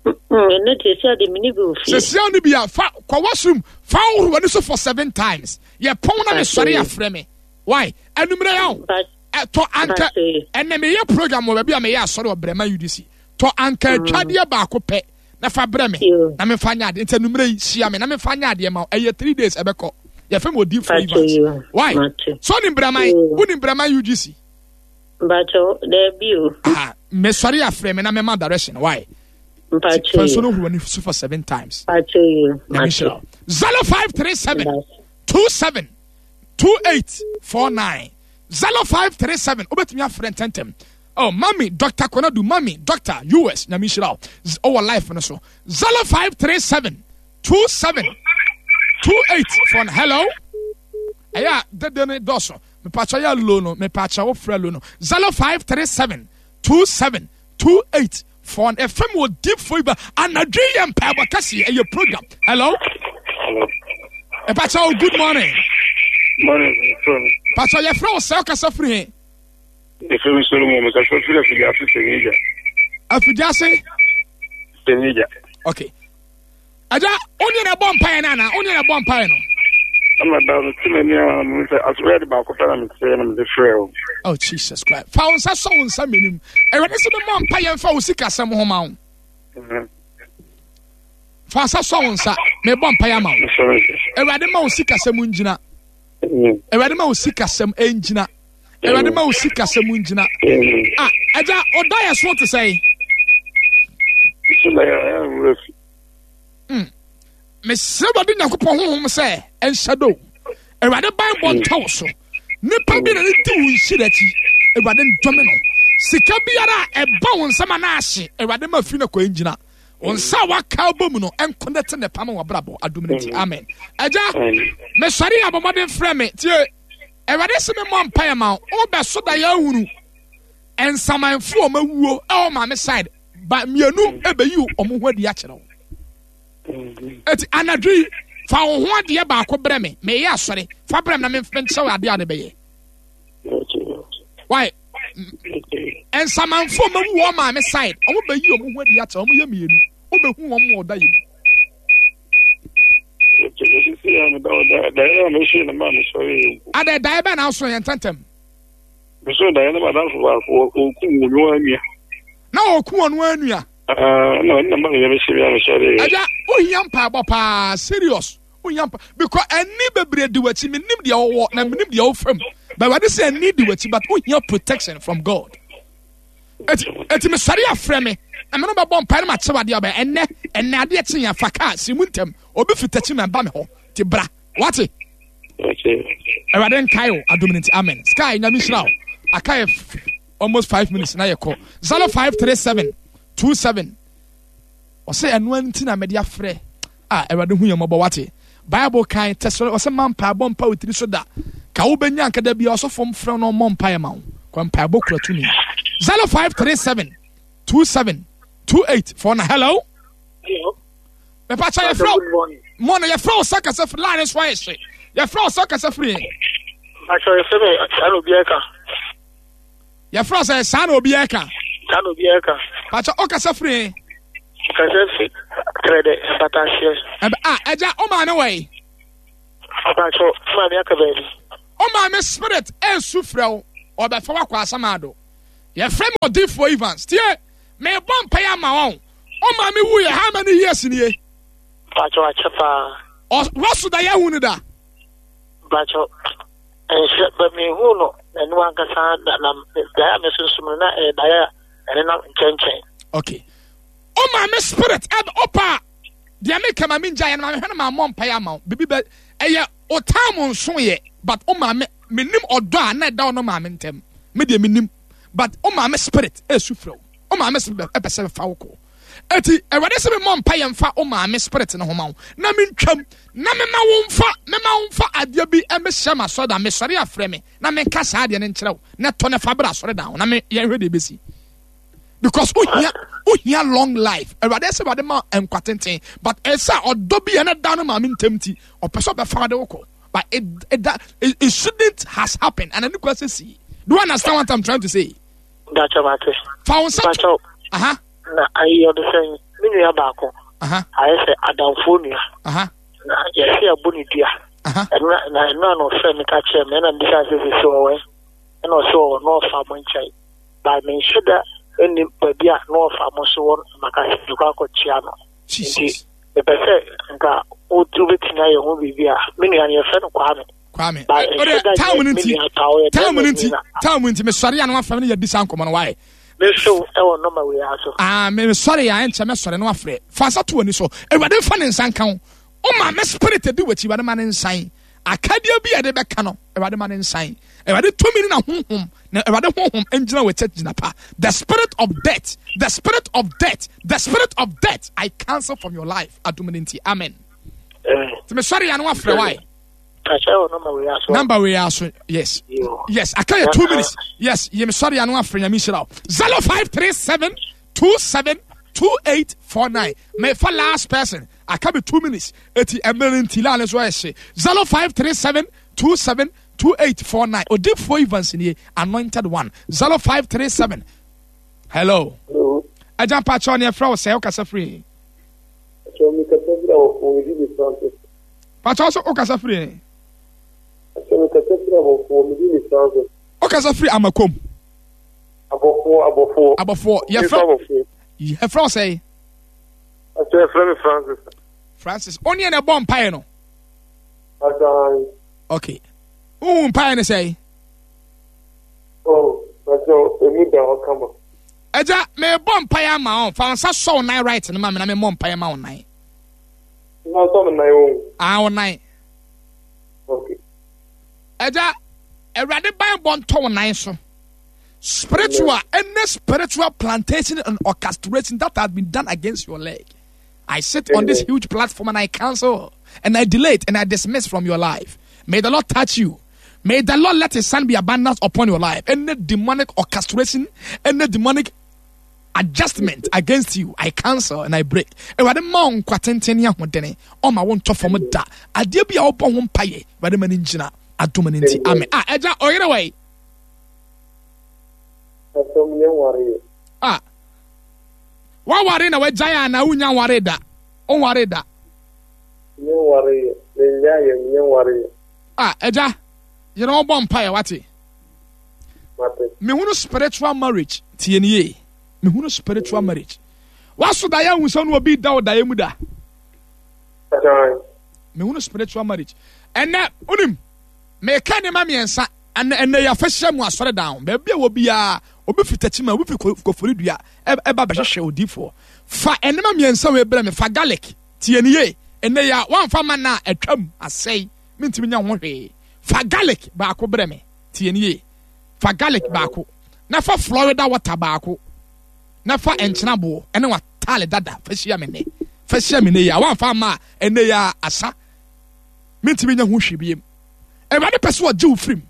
Ɛno deɛ sɛ ade mene bi wɔ fie. Sisi a no bi a fa kɔ washroom fa horo w'ani so for seven times. Yɛ pɔn na mesɔre afrɛ me. Why? Anumere ya o. Tɔ anka ɛnɛ meyɛ program wɔ baabi a meyɛ asɔre wɔ Brɛma UDC. Tɔ anka atwadeɛ baako pɛ na fa brɛ me na memfa nyɛ adeɛ. Nti anumere yi hyia me na memfa nyɛ adeɛ ma wo. Ɛyɛ 3 days ɛbɛkɔ. Yɛfrɛ me Odiyifoɔ Evans. Why? So wonim Brɛman? Wonim Brɛman UGC? Mpacho, daabi o. Ah, mesɔre afrɛ me na mɛma direction. Why? Mpacho. Fa nsuo no horo w'ani so for seven times. Mpacho yi. Nyame nhyira wo. 0537 27 2849 0537 wobɛtumi afrɛ ntɛntɛm. Oh, mami, Dr. Konadu, mami, Dr. US, nyame nhyira wo. Ɔwɔ life no so. 0537 27 2849. Hello? Ɛyɛ a dede no dɔɔso. Mepakyɛ yɛ low no, mepakyɛ wo frɛ low no. 0537 27 28 4 ɛfam wɔ deep for ba anadwo yɛ mpaebɔ kɛseɛ ɛyɛ program. Hello? Hello. Mepakyɛ wo good morning. Morning, from. Pakyɛ yɛfrɛ wo sɛ wokasa firi he? Yɛfrɛ me Solomon, mekasa firi Afidiase Sɛnigya. Afidiase? Sɛnigya. Okay. Agya, wo ne na ɛbɔ mpaeɛ no anaa? Wo ne na ɛbɔ mpaeɛ no? Ama da no te m'ani a mehu sɛ asɔre de baako pɛ na meteɛ na mede frɛ wo. Oh Jesus Christ. Fa wo nsa sɔ wo nsa mmienu mu. Awurade sɛ memmɔ mpaeɛ mfa wo sikasɛm ho ma wo. Fa nsa sɔ wo nsa. Mebɔ mpaeɛ ama wo. Awurade ma wo sikasɛm ngyina. Awurade ma wo sikasɛm ngyina. Awurade ma wo sikasɛm ngyina. Ah, agya, ɔda yɛ so te sɛn? Mesrɛ Awurade Nyankopɔn honhom sɛ ɛnhyɛ do. Awurade banbɔ ntɔ wo so. Nipa bi na ne di wo nhyira akyi. Awurade ndɔme no. Sika biara a ɛba wo nsam anaa ahye, Awurade ma firi no kɔ ngyina. Wo nsa a waka bɔ mu no ɛnkonɛte ne pam wɔ abrabɔ adom no nti. Amen. Agya, mesɔre yɛ abɔmmɔden frɛ me. Tie, Awurade se me mmɔ mpaeɛ ma wo. Wobɛso da yɛ ahunu nsamanfo a wɔawuo ɛwɔ maame side ba mmienu ɛbɛyi wɔn ho adi akyerɛ wo. Eti anadwo yi fa wo ho adeɛ baako brɛ me, meyɛ asɔre, fa brɛ me na menkyerɛ wo adeɛ a ne bɛyɛ. Why? Nsamanfoɔ ɔmo awu wɔn maame side, ɔmo bɛyi ɔmo ho adi akyɛ, ɔmo yɛ mmienu. Wobɛhu wɔn wɔ ɔda yi mu. Adɛ daeɛ bɛn na aso yɛn ntɛntɛm? Meso daeɛ na madamfo baako ɔku wɔn anua. Na ɔku wɔn anua. Na ɔno na ma meyɛ mehyɛ mi a mesɔre. Agya, wohia mpaebɔ paa, serious. Wohia mpa because ɛni bebree di w'akyi, menim deɛ ɔwɔ na menim deɛ ɔfam. But Awurade sɛ ɛni di w'akyi but wohia protection from God. Eti eti mesɔre afrɛ me na me no bɛbɔ mpae na makyɛ wadeɛ ɔbɛn ɛnɛ ɛnɛ adeɛ kye yɛn fa kaa si mu ntɛm obi fi takyi ma ɛba me hɔ ti bra wate. Awurade nkae o adom no nti amen. Sky nyame nhyira o aka yɛ almost 5 minutes na yɛkɔ 0537 27 ɔsɛ ɛno nti na mede afrɛ a Awurade hu yɛn mmɔbɔ wate. Bible kan tɛsɛ ɔsɛ ma mpaebɔ mpa wo tiri so da ka wobɛnya nka da bia ɔsɔfo mfrɛ no ɔmmɔ mpaeɛ ma wo kɔ mpaebɔ kura tumi. 0537 27 28 4 na hello. Hello. Mepakyɛ yɛfrɛ mo no yɛfrɛ wo sɛ kasa firi line so ayɛ hye yɛfrɛ wo sɛ kasa firi yɛn. Mepakyɛ yɛfrɛ me saa na obi ɛka. Yɛfrɛ wo sɛ saa na obi ɛka. Saa na obi ɛka. Pakyɛ o kasa firi yɛn. Kasa firi trɛdɛ mpataseɛ. Ɛbɛ a ɛgya o maame wɔ yi. Mepakyɛ o maame aka baabi. O maame spirit ɛnsu frɛ wo ɔbɛfa wakɔ asamado. Yɛfrɛ me odiifoɔ Evans tie mebɔ mpaeɛ ama wɔn. O maame wu yɛ how many years nie? Mpakyɛw akyɛ paa. Ɔ Russell da yɛ hu no da. Mpakyɛw nhyɛ bɛ mi hu no n'anim ankasa na na daeɛ a mesunsum no na ɛyɛ daeɛ a ɛnenam nkyɛnkyɛn. Okay. O maame spirit ɛbɛ ɔpa deɛ mi kama mi ngya yɛ no maame hwɛ no maa mɔ mpaeɛ ama wo bibi bɛ ɛyɛ o time nso yɛ but o maame mi nim ɔdɔ a na ɛda ɔno maame ntɛm mi deɛ mi nim but o maame spirit ɛsu frɛ o. Wo maame spirit ɛpɛ sɛ fa wo kɔ. Eti Awurade sɛ memmɔ mpa yɛ mfa wo maame spirit no ho ma wo na mentwam na mema wo mfa mema wo mfa adeɛ bi ɛmɛhyɛ ma asɔredan mesɔre afrɛ me na menka saa adeɛ no nkyerɛ wo na tɔ ne fa bra asɔredan ho na me yɛnhwɛ deɛ ɛbɛsi because wohia wohia long life. Awurade sɛ Awurade ma nkwa tenten but ɛsɛ ɔdɔ bi ɛna da no maame ntɛm ti ɔpɛ sɛ ɔbɛfa de wo kɔ but it shouldn't has happened and ɛne kura sɛ si. Do you understand what I'm trying to say? Mpakyɛw mate. Fa wo nsa to. Mpakyɛw. Aha. Na ayi ɔde sɛn me nua baako. Aha. Ayɛ sɛ adamfoɔ nua. Aha. Na yɛsi abɔ ne dua. Aha. Ɛna na ɛna na ɔfrɛ me ka kyerɛ me ɛna mbisa sɛ sisi ɔwɔ ɛna ɔsɛ ɔwɔ na ɔfa mo nkyɛn. Ba me nhyɛ da ɛni baabi a na ɔfa mo so wɔ maka sɛ mekɔ akɔkyia no. Jesus. Nti mepɛ sɛ nka wobɛtumi ayɛ ho biribi a me nua no yɛfrɛ no Kwame. Kwame ɔde time no nti time no nti time nti mesɔre a na wafrɛ me no yɛdi saa nkɔmmɔ no wae. Meso ɛwɔ nɔma wei ara so. Ah, mesɔre a ɛnkyɛ mɛsɔre na wafrɛ. Fa nsa to w'ani so. Awurade mfa ne nsa nka wo. Woma me spirit di w'akyi, Awurade ma ne nsan. Akadeɛ bi a yɛde bɛka no, Awurade ma ne nsan. Awurade tumi ne n'ahonhom, na Awurade honhom ngyina w'akyi gyina pa. The spirit of death, the spirit of death, the spirit of death, I cancel from your life. Adom no nti, amen. Nti mesɔre a na wafrɛ wae. Number wei aso, yes. Yes, aka yɛ 2 minutes. Yes, yɛ mesɔre ano afrɛ Nyame nhyira wo. 0537 27 2849. Mefa last person. Aka me 2 minutes. Eti mmerɛ no nti line so ayɛ hye. 0537 27 2849. Odifoɔ Evans nie, anointed one. 0537. Hello. Hello. Agya mpakyɛw ne ɛfrɛ wo sɛ wokasa firi. Mpakyɛw mekasa firi abɔfoɔ medi ne Francis. Pakyɛw so wokasa firi he? Pakyɛw mekasa firi abɔfoɔ medi ne Francis. Wokasa firi Amakom? Abɔfoɔ abɔfoɔ. Abɔfoɔ yɛfrɛ yɛfrɛ wo sɛn? Pakyɛw yɛfrɛ me Francis. Francis wo ne na ɛbɔ mpaeɛ no? Pakyɛw. Okay. Wohu mpaeɛ no sɛn? Oh, pakyɛw emu da hɔ kama. Agya, mebɔ mpaeɛ ama wo. Fa wo nsa sɔ wo nan right no ma me na memmɔ mpaeɛ ma wo nan. Na sɔ me nan o. Ah, wo nan. Okay. Agya, Awurade banbɔ ntɔ wo nan so. Spiritual, any spiritual plantation and orchestration that has been done against your leg. I sit on this huge platform and I cancel and I delete and I dismiss from your life. May the Lord touch you. May the Lord let his son be abundant upon your life. Any demonic orchestration, any demonic adjustment against you, I cancel and I break. Awurade ma wo nkwa tenten ne ahoɔdene. Ɔma wo ntɔ fam da. Adeɛ bi a wobɔ ho mpaeɛ, Awurade ma no ngyina. Adom no nti. Amen. Ah, ɛgya ɔyere wɔ yi. Pastor me nwareɛ. Ah. Waware na wagyae a na wonya nware da. Wonware da. Me nwareɛ. Me nyaeɛ me nwareɛ. Ah, agya, yɛrɛ wɔn bɔ mpaeɛ wate. Mate. Mehunu spiritual marriage tie nie yie. Mehunu spiritual marriage. Waso daeɛ ahu sɛ ɔne obi da wɔ daeɛ mu da. Mehunu spiritual marriage. Ɛnɛ, wonim, meka nneɛma mmiɛnsa. Ɛnɛ ɛnɛ yɛ afɛhyɛ mu asɔre dan ho. Baabi a wɔ biara, obi fi Tekyima, obi fi Koforidua ɛba bɛhwehwɛ odiifoɔ. Fa nneɛma mmiɛnsa wei brɛ me. Fa garlic, tie nie yie. Ɛnɛ yɛ a, woamfa ma no a, atwam, asɛe. Mentumi nyɛ ho hwee. Fa garlic baako brɛ me. Tie nie yie. Fa garlic baako, na fa Florida water baako, na fa nkyena boɔ ɛne w'ataale dada fa hyia me nnɛ. Fa hyia me nnɛ yi a, woamfa amma a, ɛnnɛ yi a asa. Mentumi nyɛ ho hwee biem. Awurade pɛ sɛ ɔgye wo firim.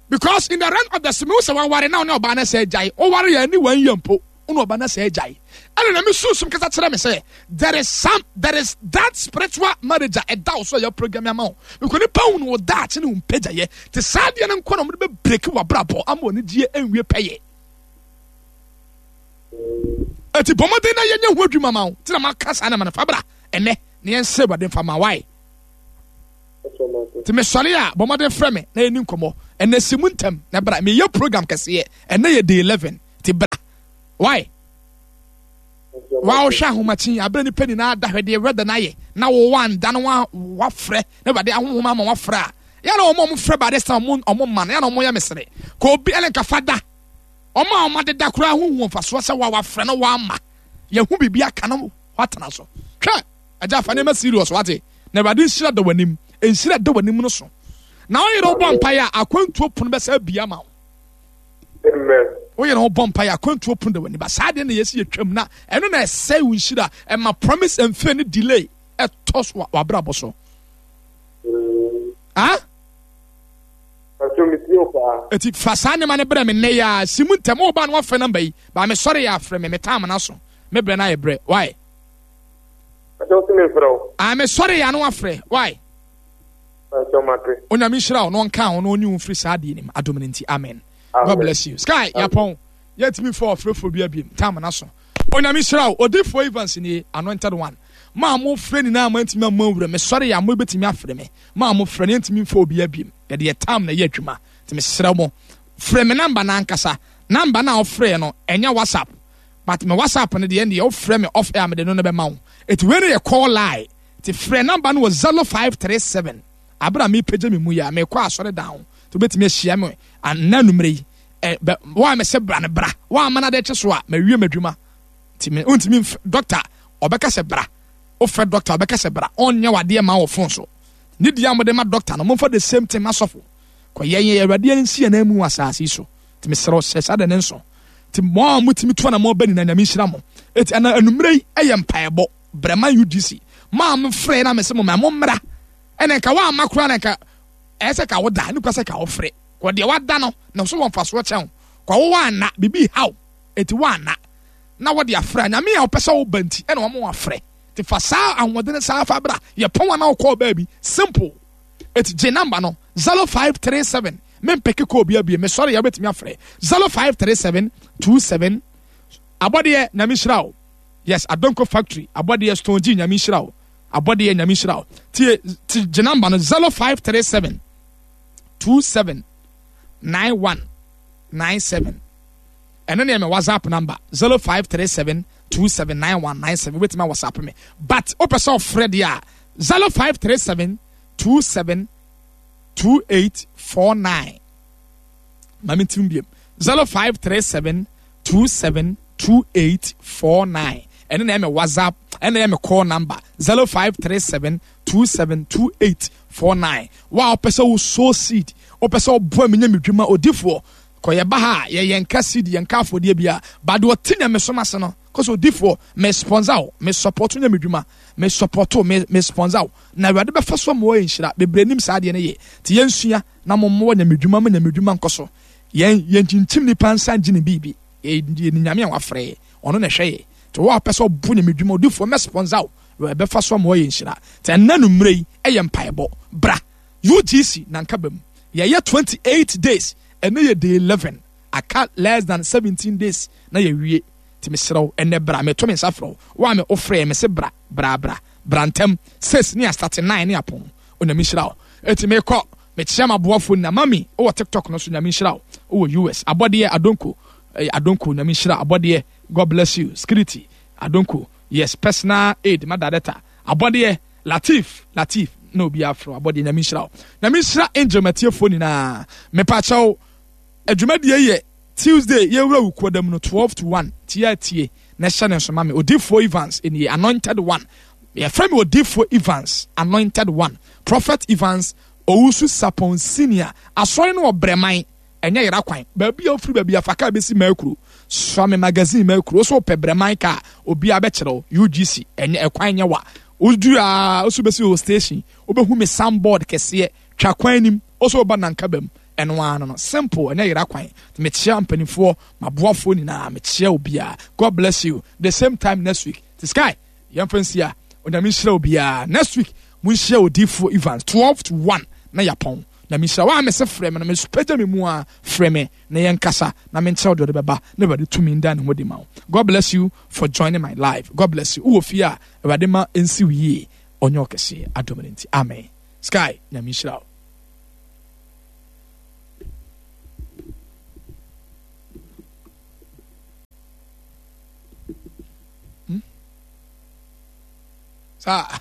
Because in the realm of the spirit, sɛ waware na ɔne ɔbaa no sɛ agyae, ɔware yɛ ne wɔn yɛ mpo, ɔne ɔbaa no sɛ agyae. Ɛna na me sunsum kasa kyerɛ me sɛ there is some there is that spiritual marriage a ɛda wo so a yɛ program ama wo. Because nipa hu no wɔ daakye ne wo mpagyaeɛ. Te saa adeɛ no nko na wɔde bɛ break w'abrabɔ ama wɔn anigyeɛ nwie pɛyɛ. Eti bɔ mmɔden na yɛnyɛ ho adwuma ma wo. Ti na maka saa na ma no fa bra ɛnɛ na yɛnsɛ Awurade mfa ma wae. Nti mesɔre a bɔ mmɔden frɛ me na yɛni nkɔmmɔ. Ɛnɛ si mu ntɛm na bra. Meyɛ program kɛseɛ. Ɛnɛ yɛ day 11. Nti bra. Why? Wa wohwɛ ahomakye abere nipa nyinaa da hwɛ deɛ weather no ayɛ na wo wanda no wafrɛ na awurade ahohom ama wafrɛ a yɛ na wɔn a wɔfrɛ by this time wɔn wɔn ma no yɛ na wɔn yɛ mesere ka obi ɛne nka fa da wɔn a wɔn adeda koraa ho hu mfasoɔ sɛ wa wafrɛ no wama yɛho biribi aka no watena so hwɛ Agya fa nneɛma serious wate na awurade nhyira da w'anim nhyira da w'anim no so na woyere wo bɔ mpaeɛ a akwantuo pono bɛsɛ abia ma wo woyere wo bɔ mpaeɛ akwantuo pono da w'anim ba saa deɛ na yɛsi yɛtwam na ɛno na ɛsɛe wo nhyira ɛma promise and fail ne delay ɛtɔ so w'abrabɔ so ah Eti fa saa nneɛma no brɛ me nnɛ yi ara si mu ntɛm woba no wafrɛ namba yi ba mesɔre yɛ afrɛ me metaa amena so me brɛ no ayɛ brɛ why Ɛsɛ wo se me mfrɛ wo. Ah me sɔre ya no afrɛ why. Ɛsɛ mate. Onyame nhyira wo na ɔnka wo na ɔnyi wo mfiri saa adeɛ nim adom no nti amen. God bless you. Sky yapɔn yɛntumi mfa ɔfrɛfoɔ bi abiem tam na so. Onyame nhyira wo. Odifoɔ Evans nie anointed one. Mo a mo frɛ nyinaa mo antumi ammɔ nwura me sɔre ya mo bɛtumi afrɛ me. Mo a mo frɛ no yɛntumi mfa obi abiem. Yɛde yɛ tam na ɛyɛ adwuma. Nti mesrɛ mo frɛ me namba no ankasa. Namba no a wofrɛ no ɛnyɛ WhatsApp. But me WhatsApp no deɛ ɛndeɛ wofrɛ me off air mede no no bɛma wo. Eti wei no yɛ call line. Ti frɛ number no wɔ 0537 abere a mepagya me mu yi a mekɔ asɔre dan ho. Ti wobɛtumi ahyia me anna anumere yi. Ɛ bɛ wo a mese bra no bra. Wo a mana de kye so a mawie m'adwuma. Ti me wontumi mf doctor ɔbɛka sɛ bra. Wofrɛ doctor ɔbɛka sɛ bra. Ɔnyɛ wadeɛ ma wɔ phone so. Ne deɛ a mode ma doctor no momfa the same thing ma sɔfo. Kɔ yɛn yɛ Awurade nsi yɛn nan mu wɔ asase yi so. Ti mesrɛ wo hyɛ saa de ne nso. Nti mo a motumi tu anamɔ ba nyinaa Nyame nhyira mo. Eti ana anummerɛ yi ɛyɛ mpaebɔ brɛma UGC. Mo a mofrɛ na mese mo ma mo mmra. Ɛna nka woamma koraa na nka ɛyɛ sɛ ka woda ne kura sɛ ka wofrɛ. Kɔ deɛ wada no na so wɔ mfasoɔ kyɛn wo. Kɔ wo woanna biribi haw eti woanna na wɔde afrɛ a Nyame a ɔpɛ sɛ woba nti ɛna wɔn afrɛ. Ti fa saa ahoɔden saa fa bra yɛ pɔn a na wokɔɔ baabi simple. Eti gye number no 0537 me mpeke kɔ obi abie me sɔre yɛ wobɛtumi afrɛ 0537 27 abɔdeɛ nyame nhyira wo yes adonko factory abɔdeɛ stone g nyame nhyira wo abɔdeɛ nyame nhyira wo tie ti gye number no 0537 27 91 97 ɛno ne me whatsapp number 0537 279197 wobɛtumi a whatsapp me but wopɛ sɛ ɔfrɛ deɛ a 0537 27 2849 ma me ntim biem 0537 27 2849 ɛno na ɛyɛ me whatsapp ɛna ɛyɛ me call number 0537 27 2849 wa wopɛ sɛ wo sow seed wopɛ sɛ ɔboa me nya me dwuma odifoɔ kɔ yɛba ha a yɛyɛ nka seed yɛnka afɔdeɛ bia but deɛ ɔte nyamesom ase no kɔ sɛ odifoɔ me sponsor wo me support nya me dwuma me support wo me me sponsor wo na awurade bɛfa so ama wɔyɛ nhyira bebree nim saa adeɛ no yɛ nti yɛnsua na mo mmoa nyamedwuma ma nyamedwuma nkɔ so yɛn yɛnkyinkyim nipa nsa ngye ne biribi yɛ ne nyame a wafrɛ yɛ ɔno na ɛhwɛ yɛ nti wo a wopɛ sɛ ɔbo nyamedwuma odifoɔ mɛ sponsor wo ɛbɛfa so ama wɔyɛ nhyira nti ɛnna no mmerɛ yi ɛyɛ mpaebɔ bra UGC na nka bam yɛyɛ 28 days ɛnɛ yɛ day 11. Aka less than 17 days na yɛwie. Nti mesrɛ wo, ɛnnɛ bra, meto me nsa frɛ wo. Wo a me wofrɛɛ me se bra, bra, bra, bra ntɛm. Six ne yɛastate, nine ne yɛapɔn. Onyame nhyira wo. Enti mekɔ, mekyea m'aboafoɔ nyinaa. Mummy, wowɔ TikTok no so, Nyame nhyira wo. Wowɔ US. Abɔdeɛ, Adonko, eh, Adonko, Nyame nhyira. Abɔdeɛ, God bless you. Security, Adonko, yes, personal aid, ma director. Abɔdeɛ, Latif, Latif, na obiara frɛ wo. Abɔdeɛ, Nyame nhyira wo. Nyame nhyira Angel matiefoɔ nyinaa. Mepakyɛw, adwumadie yɛ Tuesday yɛwura wukuo da mu no 12 to 1 tie a tie na hyɛ ne nso ma me Odifoɔ Evans nie anointed one yɛfrɛ me Odifoɔ Evans anointed one Prophet Evans Owusu Sapon Senior asɔre no wɔ Brɛman ɛnyɛ yera kwan baabi a wofiri baabi afa kaa bɛsi Makuro soa me magazine Makuro wo so wopɛ Brɛman kaa obiara bɛkyerɛ wo UGC ɛnyɛ ɛkwan nyɛ wa woduru a wo so bɛsi wɔ station wobɛhu me soundboard kɛseɛ twa kwan nim wo so woba Nankabam Ɛno ara no no simple ɛnyɛ yera kwan mekyea mpaninfoɔ maboafoɔ nyinaa mekyea obiara God bless you the same time next week ti sky yɛmfa nsia onyame nhyira obiara next week monhyia odiifoɔ Evans 12 to 1 na yapɔn na menhyira wa mese frɛ me no mesopagya me mu a frɛ me na yɛnkasa na menkyerɛ wo deɛ ɔde bɛba na awurade tumi nda ne ho di ma wo God bless you for joining my life God bless you wowɔ fie a awurade ma ɛnsi wo yie ɔnyɛ ɔkɛseɛ adom no nti amen sky nyame nhyira wo Hmm? Saa.